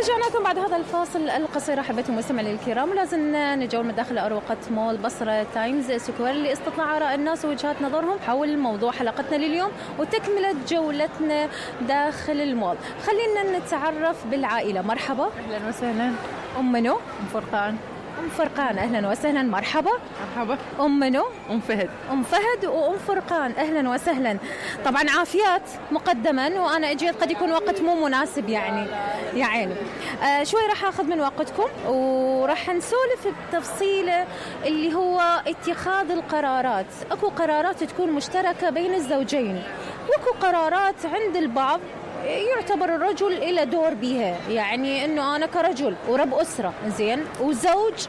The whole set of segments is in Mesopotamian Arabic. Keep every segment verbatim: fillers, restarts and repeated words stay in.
رجعنا لكم بعد هذا الفاصل القصير أحبتي المستمعين الكرام. لازم نجول من داخل أروقة مول بصرة تايمز سكوير لاستطلاع آراء الناس ووجهات نظرهم حول موضوع حلقتنا لليوم وتكملة جولتنا داخل المول. خلينا نتعرف بالعائلة. مرحبا. أهلا وسهلا. أم منو؟ أم فرقان. أم فرقان أهلا وسهلا. مرحبا. مرحبا. أم منو؟ أم فهد. أم فهد وأم فرقان أهلا وسهلا. طبعا عافيات مقدما وأنا أجيت قد يكون وقت مو مناسب يعني يا عيني. آه شوي راح أخذ من وقتكم وراح نسولف بتفصيله اللي هو اتخاذ القرارات. أكو قرارات تكون مشتركة بين الزوجين وأكو قرارات عند البعض يعتبر الرجل إلى دور بها، يعني إنه أنا كرجل ورب أسرة زين وزوج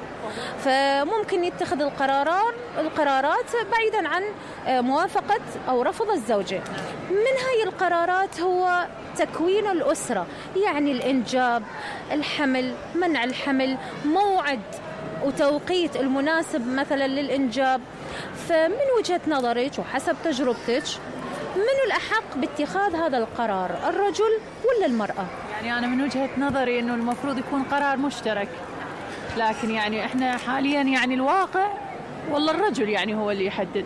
فممكن يتخذ القرارات القرارات بعيدا عن موافقة أو رفض الزوجة. من هاي القرارات هو تكوين الأسرة، يعني الإنجاب، الحمل، منع الحمل، موعد وتوقيت المناسب مثلا للإنجاب. فمن وجهة نظرك وحسب تجربتك من الأحق باتخاذ هذا القرار، الرجل ولا المرأة؟ يعني أنا من وجهة نظري إنه المفروض يكون قرار مشترك، لكن يعني إحنا حاليا يعني الواقع والله الرجل يعني هو اللي يحدد،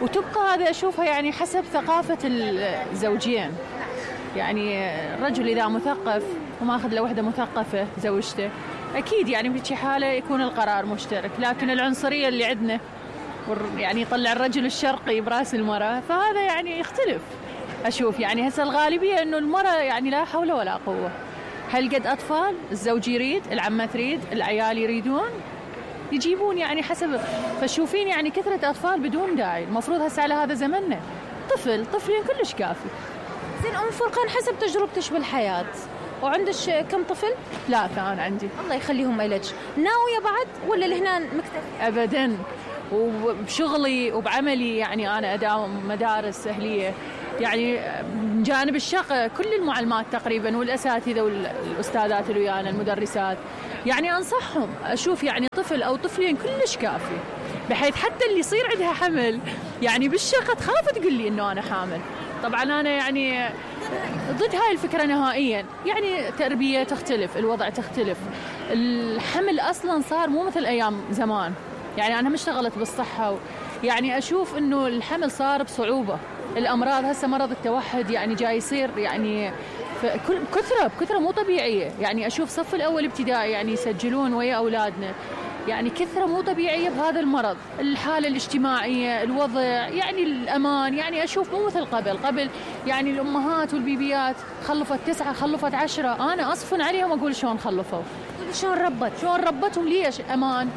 وتبقى هذا أشوفها يعني حسب ثقافة الزوجين. يعني الرجل إذا مثقف وما أخذ له وحدة مثقفة زوجته أكيد يعني بهذه حالة يكون القرار مشترك. لكن العنصرية اللي عندنا يعني يطلع الرجل الشرقي براس المرأة فهذا يعني يختلف. أشوف يعني هسه الغالبية إنه المرأة يعني لا حول ولا قوة. هل قد أطفال الزوج يريد، العمة تريد، العيال يريدون يجيبون يعني حسب. فشوفين يعني كثرة أطفال بدون داعي. المفروض هسه على هذا زمننا طفل طفلين كلش كافي. زين أم فرقان حسب تجربتش بالحياة وعندش كم طفل؟ ثلاثة أنا عندي. الله يخليهم إلك. ناوية بعد ولا لهنا مكتفي؟ أبداً. وبشغلي وبعملي يعني أنا أداوم مدارس أهلية، يعني من جانب الشقة كل المعلمات تقريبا والأساتذة والأستاذات اللي ويانا المدرسات يعني أنصحهم. أشوف يعني طفل أو طفلين كلش كافي، بحيث حتى اللي يصير عندها حمل يعني بالشقة تخاف تقول لي إنه أنا حامل. طبعا أنا يعني ضد هاي الفكرة نهائيا. يعني تربية تختلف، الوضع تختلف، الحمل أصلا صار مو مثل أيام زمان. يعني أنا مشتغلت بالصحة و... يعني أشوف إنه الحمل صار بصعوبة. الأمراض هسه مرض التوحد يعني جاي يصير يعني كثرة بكثرة مو طبيعية. يعني أشوف صف الأول ابتدائي يعني يسجلون ويا أولادنا يعني كثرة مو طبيعية بهذا المرض. الحالة الاجتماعية، الوضع، يعني الأمان، يعني أشوف مو مثل قبل. قبل يعني الأمهات والبيبيات خلفت تسعة خلفت عشرة، أنا أصفن عليهم أقول شلون خلفوا، شلون ربت شلون ربتهم، ليش؟ أمان،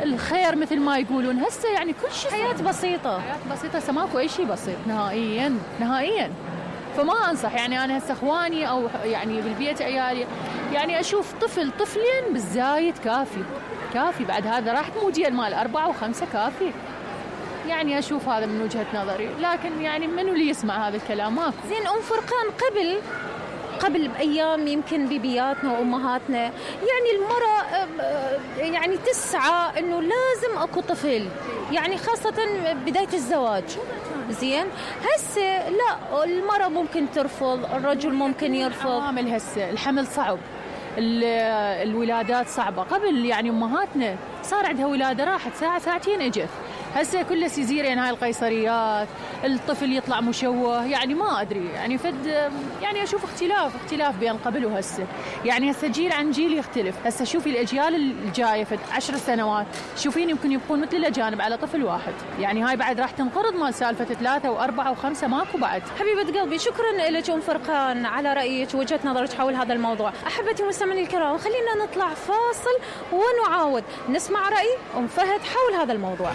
الخير مثل ما يقولون. هسه يعني كل شيء حياة بسيطة، حياة بسيطة، هسه ماكو أي شيء بسيط نهائيا نهائيا. فما أنصح يعني أنا هسه إخواني أو يعني بالبيت عيالي يعني أشوف طفل طفلين بالزايد كافي كافي. بعد هذا راح موديل مال أربعة وخمسة كافي. يعني أشوف هذا من وجهة نظري. لكن يعني منو اللي يسمع هذا الكلام؟ ماكو. زين أم فرقان قبل قبل بأيام يمكن بيبياتنا وأمهاتنا يعني المرأة يعني تسعى إنه لازم أكو طفل، يعني خاصة بداية الزواج. زين هسه لا، المرأة ممكن ترفض، الرجل ممكن يرفض. عوامل هسه الحمل صعب، الولادات صعبة. قبل يعني أمهاتنا صار عندها ولادة راحت ساعة ساعتين اجت. هسه كله سيزيريان، هاي القيصريات، الطفل يطلع مشوه. يعني ما أدري يعني فد يعني أشوف اختلاف اختلاف بين قبل وهسه. يعني هسه جيل عن جيل يختلف. هسه شوفي الأجيال الجاية فد عشر سنوات شوفين يمكن يبقون مثل الأجانب على طفل واحد. يعني هاي بعد راح تنقرض مال سالفة ثلاثة وأربعة وخمسة، ماكو بعد. حبيبة قلبي شكرا لك أم فرقان على رأيك ووجهة نظرك حول هذا الموضوع. أحبتي المستمعين الكرام خلينا نطلع فاصل ونعاود نسمع رأي أم فهد حول هذا الموضوع.